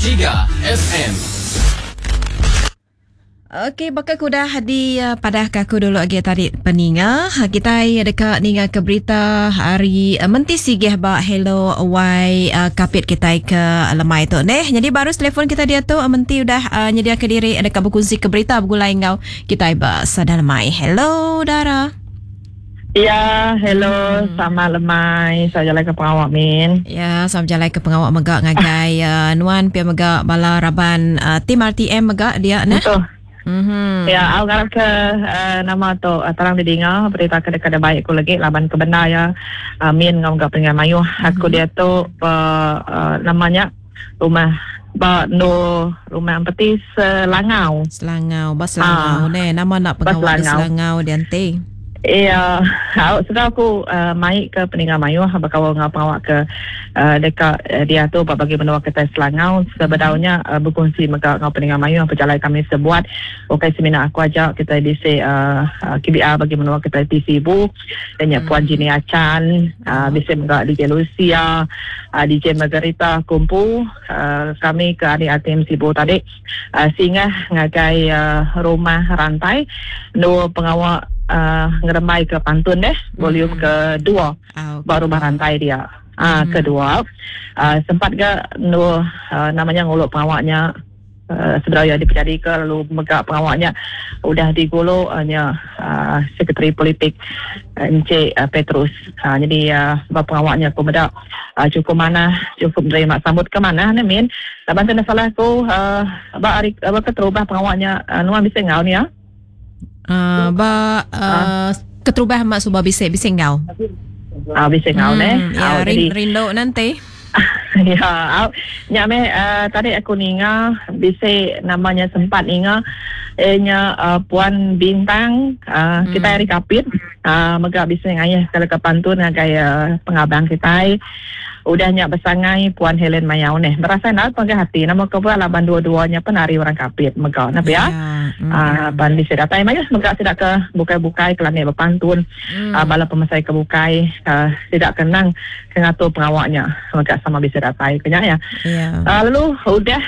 3 FM. Okey, baka ke udah dipadah ke aku dulu agi tadi peninga, kitai deka ninga ke berita ari Menti Sigih ba Hello Y Kapit kitai ke lemai tu neh. Nyadi ba arus telefon kitai diatu Menti udah nyediaka diri deka bekunsi ke berita begulai enggau kitai ba sada lemai. Hello Dara. Ya, hello, sama lemai. Sama jalai ke pengawa min. Ya, sama jalai ke pengawa mega ngagai uh, nuan pia mega bala raban uh, tim RTM mega dia neh. Betul. Mm-hmm. Ya, aku ngarap ke uh, nama tu uh, terang didinga berita ke deka baik aku lagi laban ke bendar ya. Uh, min ngau ga pengingat mayuh aku mm-hmm. dia tu uh, uh, namanya rumah ba endur rumah empeti Selangau. Selangau, ba Selangau ah. neh. Nama nak pengawa di Selangau dia enti? Iya, au sebab aku uh, mai ke peninga mayuh bekaul enggau pengawa ke uh, deka uh, diatur ba bagi menua kitai Selangau sebedaunya uh, berkongsi mega enggau peninga mayuh pejalai kami sebuat ukai semina aku aja kitai bisi uh, uh, KBR bagi menua kitai ti Sibu Iya nya Puan Jini Achan, uh, bisi mega DJ Lucia, uh, DJ Margarita Kumpu, uh, kami ke ari ATM Sibu tadi uh, singah ngagai uh, rumah rantai endur pengawa uh, ngerembai ke pantun deh volume ke dua ba rumah rantai dia. Uh, kedua uh, sempat ga endur uh, namanya ngulu pengawa nya Sebedau iya dipejadika lalu mega pengawa nya udah digulu nya Sekretari Politik Encik Petrus. Nyadi ba pengawa nya aku meda chukup manah, chukup nerima sambut ke manah ne min. Laban ti enda salah aku ba hari ba keterubah pengawa nya nuan bisi enggau nia. Ba keterubah mak suba bisi bisi enggau. Ah bisi enggau neh. Ya rindu nanti. Ya au nya meh tadi aku ninga bisi nama nya sempat ninga iya nya Puan Bintang kitai ari Kapit mega bisi ngayah ke leka pantun ngagai pengabang kitai. Udah nya besangai Puan Helen Mayau neh. Berasai enda pegah ati nama kebuah laban dua-dua nya pen ari orang Kapit mega ne pia. Aaa pan bisi datai mayuh mega sida ke bukai-bukai ke landik bepantun aaa bala pemesai ke bukai aaa sida ke endang ke ngatur pengawa nya mega sama bisi datai ke nya iya. Aaa lalu udah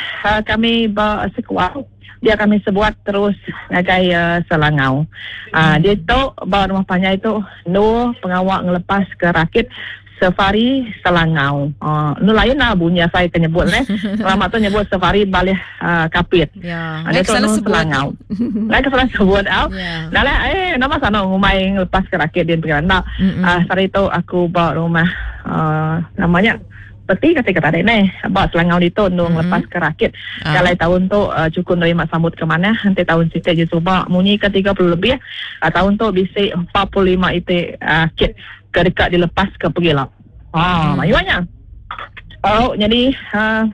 kami ba sekuau dia kami sebuat terus ngagai Selangau. Aaa ditu ba rumah panjai tu endur pengawa ngelepas ke rakit Safari Selangau. Uh, nu lain lah bunyi asai ke nyebut neh. Lama tu nyebut safari balih uh, kapit. Ya. Uh, dia tu nu Selangau. Ngai ke salah sebut au. Ya. Nah lah eh nama sana ngumai ngelepas ke rakit din pengiran enda. Uh, sehari tu aku ba rumah uh, namanya peti kati ke tadi neh ba Selangau ditu nu ngelepas ke rakit. Ah. Jalai tahun tu uh, cukup nerima sambut ke manah enti tahun siti je suba munyi ke 30 lebih uh, tahun tu bisi 45 iti uh, kit ke deka dilepaska pegila. Ha, mayuh nya. Au, nyadi uh,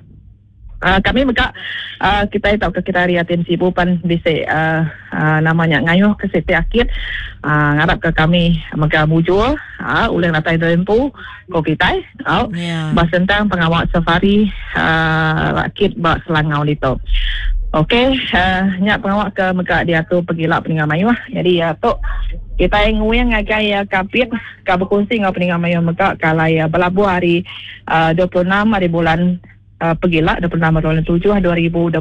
uh, kami mega uh, kitai tauka kitai ari Atin Sibu pan bisi uh, uh, nama nya ngayuh ke siti akit uh, ngarapka kami mega mujur uh, ulih datai diri empu ko kitai. Au, Ya. ba sentang pengawa safari uh, rakit ba Selangau ditu. Okey, uh, nya pengawa ke mega diatur pegila peninga mayuh. Nyadi uh, tu kitai nguing ngagai uh, Kapit ka bekunsi enggau peninga mayuh mega ke alai uh, belabuh hari uh, 26 hari bulan uh, pegila 26 hari bulan 7 2026.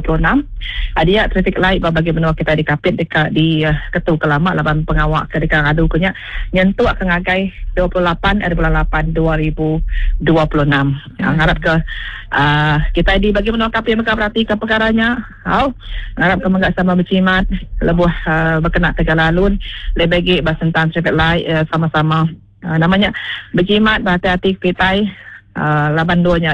Uh, dia traffic light ba bagi menua kitai di Kapit deka di uh, ketu ke lama laban pengawa ke deka ngadu ke nya nyentuk ke ngagai 28 hari bulan 8 2026. Uh, ngarap ke uh, kitai di bagi menua Kapit mega beratika pekara nya. Au, ngarap ke mega sama bejimat lebuh uh, bekena ke jalai alun lebih agi ba sentang traffic light uh, sama-sama uh, nama nya bejimat berhati-hati kitai uh, laban dua nya.